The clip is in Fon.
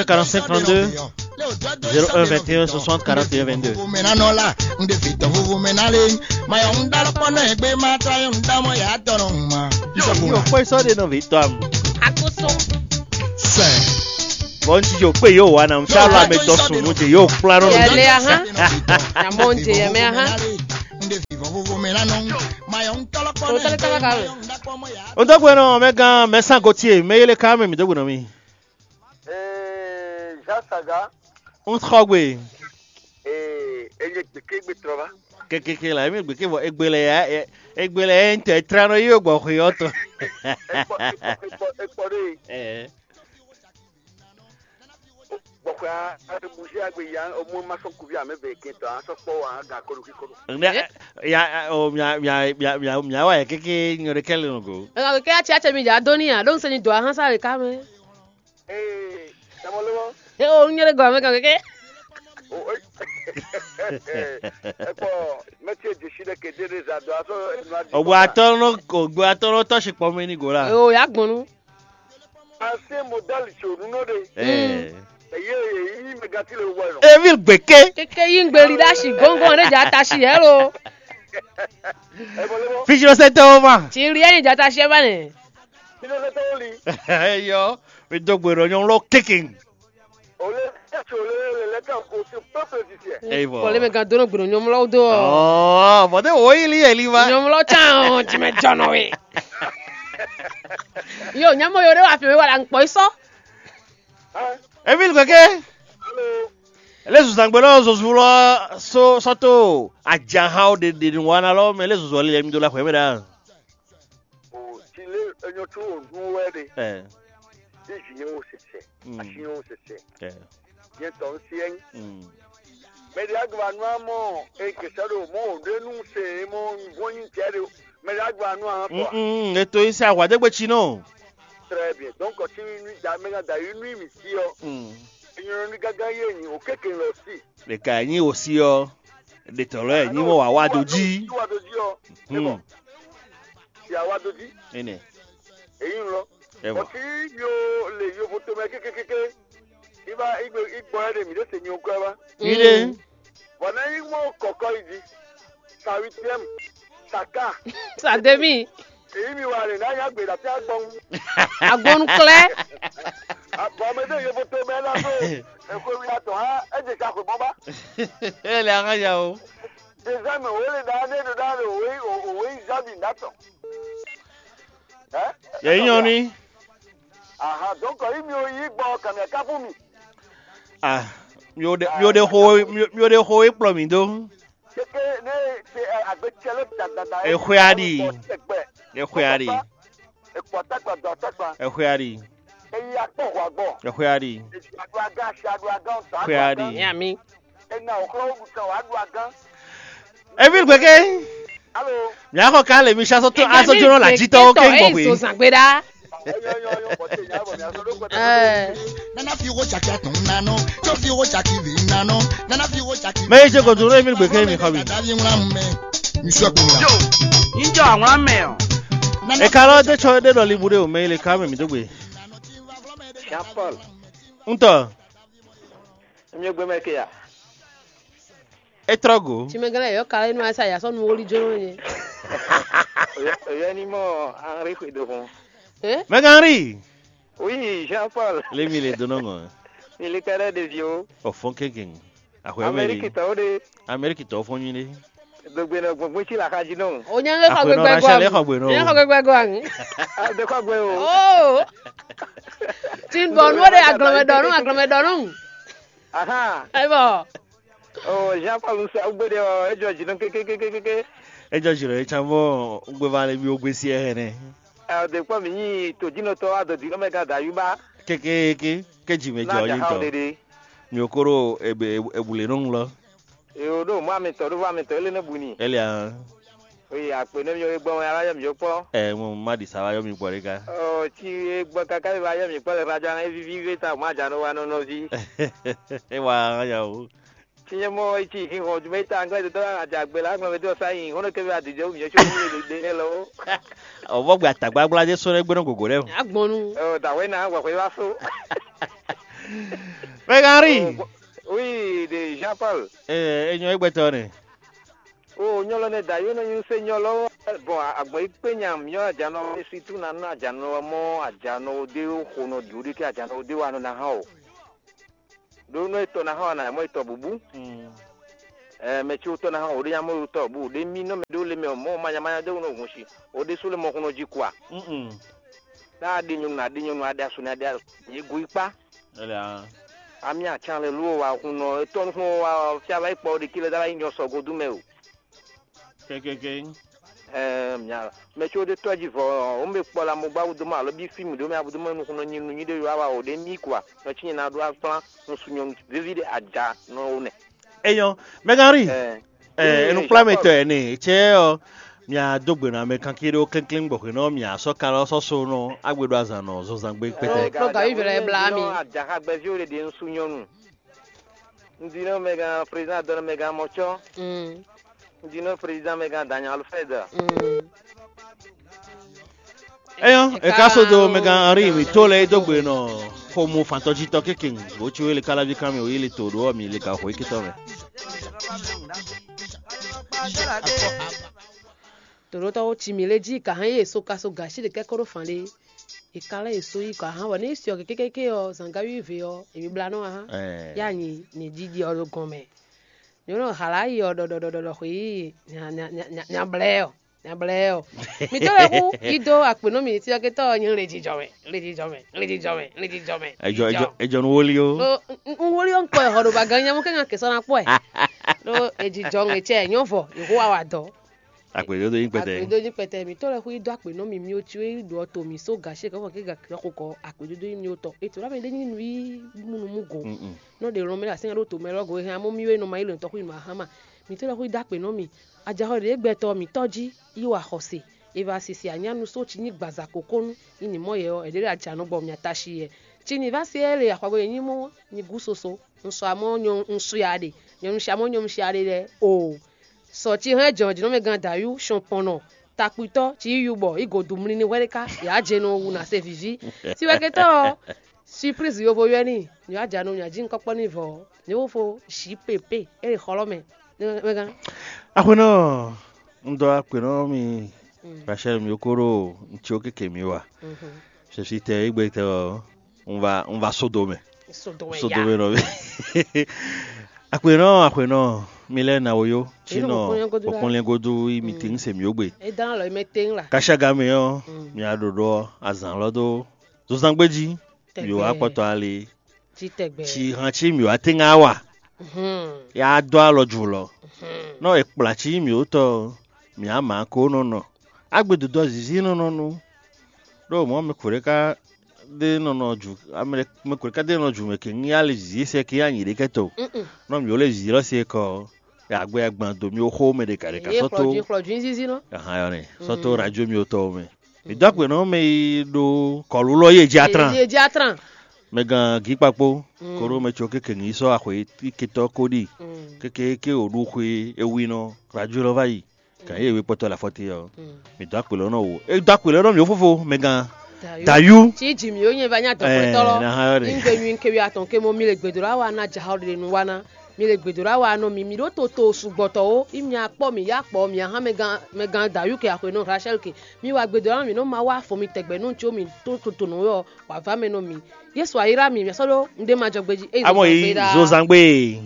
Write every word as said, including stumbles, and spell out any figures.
quarante-cinq trente-deux, zéro un vingt et un soixante quarante et un vingt-deux. Yo, foi só de não vitória. Akusum. Bom dia, foi eu, Ana. Não tá lá, me tô sumo de eu, claro. Yɛlɛ ahán. Namɔ n jɛ yɛ mɛ ahán. Totali tala ka wɛ. O dɔgbe nɔ mɛ gan mɛ san ko tie mɛ yele ka mɛ mi dɔgbe nɔ mi. Ee, Jean Saga, Un xɔ gbe. Ee, enye gbekegbe trɔ va. Kekeke la, emi gbeke vɔ egbe lɛ ya, egbe lɛ ya ntɛ tra nɔ yi gbɔ xwe ɔtɔ. Ekpɔ, ekpɔ, ekpɔ, ekpɔ ɖe. Eh. Gbɔxwe a, a bouger agbe ya, o mo ma sɔn kuvi ame be ke tɔ, a sɔ kpɔ wa ga kolo ki kolo. Mia, ya, o mia, mia, mia, mia, mia wa ya keke nyɔ ɖe kɛlɛ nɔ go. Ɛnɛ kɛ ya tsi atsɛ mi dza dó ní a ɖó ŋusẽ ni dǒ ahán sáré ká mɛ. Ee, tamɔ lé mɔ. E o nyɛ ɖe gɔmɛ kan keke. O e. Ekpɔ, mɛtsi e dzi si ɖe kede ɖe za dɔ asɔ enu adi. Ogbe atɔ nɔ, ogbe atɔ nɔ tɔ si kpɔ mɛ ni go la. O ya gbɔn nu. Ancien modèle tso nu nɔ ɖe. Eh. Eye yi mɛ gati le wɔ nɔ. Evil gbeke. Keke yi ŋgbeli ɖe asi gɔngɔn ɖe dza ta si hɛ lo. Ebɔ lé mɔ. Fijlɔsɛtɔwo ma. Ti ri ɛni dza ta si ɛ ba nɛ. Fijlɔsɛtɔwo li. Eyɔ, mi dó gbe ɖɔ nyɔnu lɔ keke. Ole, ole, le lɛ kan ko se peuple égyptien. Eyi vɔ. Kɔlé mɛ kan dónɔ gbɔdɔ nyɔmlɔw dó ɔ. Ɔɔ, bɔtɛ wo yi li yɛ li va. Nyɔmlɔ tán ɔ, jimɛ jɔnɔ we. Yo, nyamɔ yo ɖe wa fi mi wa la nkpɔ yi sɔ. Hein? Emile keke. Allô. Ele zuzangbe lɔ zozu lɔ so sɔto ajahan o de de wa na lɔ mɛ ele zuzu ɔli lɛ mi do la xɔ yɛ mɛ ɖa. O ti lé enyɔ tó o nú wɛ ɖe. Ɛ. Ní vi yẹn o sẹsẹ, Mm. Asi yẹn o sẹsẹ. Ɛ. Yẹn tɔ ń se ẹyin. Mm. Mɛ ɖe agba nú amɔ e kẹsẹ ɖo mɔ o ɖe nú se e mɔ wọ́n nyi jẹ ɖe o. Mɛ ɖe agba nú amɔ tɔ. Mm, mm, eto yi se ahwa dégbe tsi nɔ. Très bien. Donc, si nu da mɛ da yi nu mi si ɔ. Mm. Enyɔ nu gaga ye nyi o keke lɔ si. Ɖeka nyi o si ɔ. Ɖetɔ́ lɛ́ɛ nyí mɔ wǎ wá dó jí. Wá dó jí ɔ. Hmm. Sia wá dó jí. Énɛ́. Èyí ń lọ. Ẹ vɔ. Ọtí yóò lè yóò tó mẹ kékékéké. Ibà igbe igbọ ẹ lè mí lè sèmi okọ ẹ wá. Yílé. Bọ̀nà yín mọ̀ kọ̀kọ́ ìdí. Sa huitième. Sa quart. Sa demi. Èyí mi wà lè náà yá gbèdà tí a gbọ́n. Agbɔnukplɛ. Àbọ̀ ọmọdé yóò tó mẹ náà tó. Èkó wí atọ̀ á ẹ jẹ ká kò bọ́ bá. Ẹ lè ara yà o. Désormais, o le da ne do da le o we o we zabi da tɔ. Hein? Yɛ yi nyɔ ni. Aha, donc yi mi o yi gbɔ kamia ka fún mi. Ah, mi o de mi o de xo mi o- mi o de xo e kplɔ mi do. Keke ne se agbe tsɛ lɛ da da da. Exwe aɖi. Exwe aɖi. Ekpɔ takpa dɔ takpa. Exwe aɖi. Eyi akpɔ hwa gbɔ. Exwe aɖi. Esi adu aga si adu aga ŋutɔ. Exwe aɖi. Ní àmì. Ena òkúrò wúkú kan wàá ɖu agán. Evi gbeke. Alo. Mia xɔ ka le mi sa sɔtɔ asɔ jɔnɔ la jitɔ ke gbɔ hwe. Zangbe ɖa. Nana fi wo tsaki atun nanɔ, tso fi wo tsaki vi nanɔ, nana fi wo tsaki. Mɛ yi se ko duro evi gbeke mi xɔ mi. Dada vi ŋla mɛ. Mi sɔ ko ŋla. Yo, njɔ àwọn amẹ o. E ka lɔ de tsɔ de dɔ libu de o mɛ yi le ka mɛ mi do gbe. Jean Paul. Ŋutɔ. Nyɔgbe mɛ ke ya. E trɔ go. Tsi mɛ gɛlɛ yɔ kala inú asa yasɔ nu woli jɔ nye. Oyɛ ni mɔ Henri xwe do hɔn. Eh? Mɛ Henri. Oui, Jean Paul. Lemi le dono ŋɔ. Mi le kɛɖɛ ɖevi o. O fɔn keke. Axɔ Amérique tɔwo de. Amérique tɔwo fɔn nyi de. Dogbe nɔ gbɔngbɔn tsi la xaji nɔ. O nya ŋgɛ xɔ gbɛgbɛ gɔ. Nya xɔ gbɛgbɛ gɔ aŋ. De kɔ gbɛ o. Oh. Tin bɔ nu de agblɔmɛ dɔnu agblɔmɛ dɔnu. Aha. Ayi bɔ. Oh, Jean Paul sa ugbe de o ejo ji nɔ kekekekeke. Ejo ji nɔ e tsa bɔ ugbe va le bi o gbe si ɛ hɛnɛ. Ɛ de kpɔ mi nyi to ji nɔ tɔ a do di nɔ mɛ ga da yuba. Kekeke ke ji mɛ jɔ yi tɔ. Mi o koro ebe ebule nɔ ŋlɔ. Yo ɖo mɔ amitɔ ɖo vɔ amitɔ ele ne bu ni. Ele a. Oye akpe ne mi yɔ gbɔn wɛ ala yɔ mi yɔ kpɔ. Ɛ mo ma ɖi sa va yɔ mi gbɔ ɖe ga. Ɔ tsi e gbɔ kaka mi va yɔ mi kpɔ le radio aŋa evivi ve ta mo adza nɔ wa nɔ nɔvi. E wa ya o. Tsi nye mɔ etsi hin hɔn dumɛ ta aŋgla de dɔ adza gbe la aŋgla mi dɔ sa yin hɔn ke mi adidze mi yɔ tso mi de ne lɔ. Ɔvɔ gbe atagbagbla de sɔ ne gbɛnɔ gogo ɖe. Agbɔnu. Ɔ dawɛ na gbɔ xɔ yi va so. Mɛgan Henri. Oui, de Jean Paul. Ee, e nyɔ egbɛtɔ nɛ. O nyɔlɔ nɛ da yónɔ nyi se nyɔlɔ. Bɔn agbɔn yi kpe nya myɔ ajanɔ, situ na nɔ ajanɔ mɔ ajanɔ de xo nɔ di o de ke ajanɔ de wa nɔ na hã o. Ɖo nɔ etɔ na hã wa na mɔ etɔ bubu. Ɛ mɛ ci wotɔ na hã o de nya mɔ etɔ bu de mi nɔ mɛ ɖo le mɛ mɔ manya manya de nɔ hun si. O de su le mɔ hun nɔ ji kua. Ná a ɖe nyɔnu a ɖe nyɔnu a ɖe asu na ɖe asu. Ye go yi kpa. Ami atsan lɛ ló wa hun nɔ etɔ nukun wa fia va yi kpɔ ɖe kí lɛ dá va yi nyɔ sɔgo dú mɛ o. Kékéké. Ɛɛ mia mɛ tso ɖe tɔ́ jí vɔ ɔ́, wǒ mɛ kpɔ la mo gbá wúdo mɔ alɔ bí fí mǐ ɖó mɛ abúdo mɔ nukúnnɔ nyi nu nyí ɖé yɔ wa o ɖé mì kwa nɔ cí nyɛ ná ɖó akplán nusú nyɔnu víví ɖé aja nɔ wo nɛ. Eyɔn, Mɛgari, ɛɛ, ɛɛ, enukplamitɔ ɛ nɛ cɛ ɔ, mia dó gbe nɔ amɛ kanké ɖó klínkín gbɔxwe nɔ mia sɔ́ kalɔ sɔ́ so nɔ agbe ɖo azan nɔ zɔzangbe kpɛtɛ. Ɖo gavi vɛlɛ bla mi. Ajaxa gbɛví o ɖe ɖe nusú nyɔnu. Un ɖi nɔ mɛgán président dɔn nɔ mɛgán mɔcɔ. Un ɖi nɔ président mɛgán Daniel Alfred. Eyɔn, e ka so do mɛgán Henri mi to lɛ e dó gbe nɔ xomú fantɔjitɔ kékeng bó ci wele káláví kan mi o yi le to ɖo mi le ka xo ikitɔ mɛ. Tòɖótɔ́ ci mǐ lé jí ka hɛn yě so ka so gǎ sí ɖe kɛ́kɔ́ ɖó fan ɖé. È ka lɛ́ yě so yí kɔ ahán wɛ nú é se ɔ́ kékéké ɔ́, zǎngá wívé ɔ́, è mi blá nɔ ahán. Yá nyi nyɛ jiji ɔ́ ɖo gɔn mɛ. Nyɔ̌nu hlǎ yi ɔ́ ɖɔɖɔɖɔɖɔ xwǐ nya blɛ́ ɔ́, nya blɛ́ ɔ́. Mǐ tó lɛ́ hú yí dó akpě nú mì, cyɔ́kɛ́tɔ́ ɔ́ nyí lejijɔ mɛ, lejijɔ mɛ, lejijɔ mɛ, lejijɔ mɛ. Ejɔ ejɔ ejɔ nu wóli ó. Ɖó un wóli ɔ́ un kpɔ ɛ hɔ ɖo ba gan nyamú kɛ́ nya kɛ́ sɔ́ ná kpɔ ɛ. Ɖó ejijɔ ŋɛ cɛ nyɔ́ vɔ, yě hú wa wa dɔ̌. Akpědódó nyí kpɛtɛ. Akpědódó nyí kpɛtɛ. Mǐ tɔ́ lɛ́ xwí dó akpě nɔ mì mì cí é ɖo ɔ́ to mǐ só gǎ ce kɔ́ kí gǎ xo kɔ akpědódó nyí mì tɔn. Ètò lámɛ ɖé nyí nǔ yí múnumú go. Nɔ ɖe lɔn mɛ ɖo así nya ɖó to mɛ lɔ́ go e hɛn amɔ́ mì wé nɔ ma yí lɔn tɔ́ xwí nǔ a hán ma. Mǐ tɔ́ lɛ́ xwí dó akpě nɔ mì. Ajaxɔ ɖě gbɛtɔ́ mǐtɔn jí yí wa xɔse. È va sisi anyánu só cí nyí gbaza kókónú. Nyí nǐ mɔ yɛ ɔ́, è ɖě ɖo ajanɔ gbɔ mì atashi yɛ. Ci nǐ va se ɛ le axɔgbe nyí mɔ nyi gú soso. Un sɔ amɔ́ nyɔ un su ya ɖe. Nyɔnu sia mɔ́ nyɔnu sia ɖe lɛ́ɛ o. Sɔ ci hɛn jɔ̌njɔ́nɔmɛgán Dayú, sɔnpɔnnɔ, takpitɔ́, ci yí yubɔ, yi godu mlini hwɛɖéká, yǎ jɛ nɔ wu nǎ se vǐví. Tiwɛkɛtɔ́ ɔ́, siplízi yovo ywɛ́ n'i, nyɔ̌ ajanu nyɔ̌ ajínukɔ́kpɔ́ n'i vɔ, nyɔ̌ fó jǐ pépé, é ɖe xɔlɔ́ mɛ. Mɛgán. Axwénɔ, un dɔ akpě nɔ mi Rachel mi ko ɖo un cí ó kéke mi wa. Sɛsitɛ égbé tɛ ɔ́, un va un va sódo mɛ. Sódo mɛ Sódo ya. Mɛ nɔ. Axwénɔ, axwénɔ, mi lɛ́ na wo yó, Yě nɔ sínɔ kpɔ́nlɛ́ngodo ɖá. Kpɔ́nlɛ́ngodo yi mi tín se mi ó gbe. É dán lɔ mɛ tɛ́n la. Kásága mɛ ɔ́, mi a ɖo ɖɔ azǎn lɔ dó zozangbe jí, mi wá kpɔtɔ ali. Jí tɛgbɛ. Tsi han cí mi wá tɛ́n ŋá wa. Ya dó alɔ jǔ lɔ. Nɔ è kplá cí mi ó tɔ, mi á mǎ ko nɔ nɔ. Agbe dodó zizi nɔ nɔ nu. Ɖó mɔ̌ mɛ kǒɖé ká ɖé nɔ nɔ jǔ, mɛ kǒɖé ká ɖé nɔ jǔ mɛ kɛ ŋí ali zizi sɛ kɛ anyi ɖé kɛtɔ. Nɔ mi ó lé zizi lɔ se kɔ. Agbe agban do mi ó xó mɛ ɖe ka ɖe ka Yě sɔ́ tó. Xlɔjú xlɔjú nyí zizi nɔ. Ahan yɔ nɛ. Sɔ́ tó radio mi ó tɔ mɛ. Mi dó akpe nɔ mɛ yi ɖo kɔlu lɔ yé dzi atran. Yé dzi atran. Mɛ gán gí kpakpo. Koro mɛ tso kéke ŋí sɔ́ axwe iketɔ ko ɖi. Kéke ké o ɖu xwe ewi nɔ radio lɔ va yi. Kan yé we kpɔtɔ la fɔte ɔ. Mi dó akpe lɔ nɔ wo. E dó akpe lɔ nɔ mi ó fofo mɛ gán. Dayu. Tí jì mí ó nyɛ va nyá dɔ̀kpɛtɔ́ lɔ. Ní gbé nyui kéwì atɔn ké mɔ mi le gbèdúrà wa ná jahɔ ɖe nu wa ná. Mi le gbèdúrà wa nɔ mi mi ɖó toto sugbɔtɔ ó. Í mi akpɔ mi yá kpɔ mi ahán mɛ gán mɛ gán Dayu ke axwe nɔ Rachel ke. Mi wa gbèdúrà mi nɔ ma wá fɔ mi tɛgbɛ nɔ tso mi tó toto nɔ yɔ wà va mɛ nɔ mi. Yésu ayíra mi mi sɔ́ ɖó ndé ma jɔ gbejí. Amɔ yi zozangbe.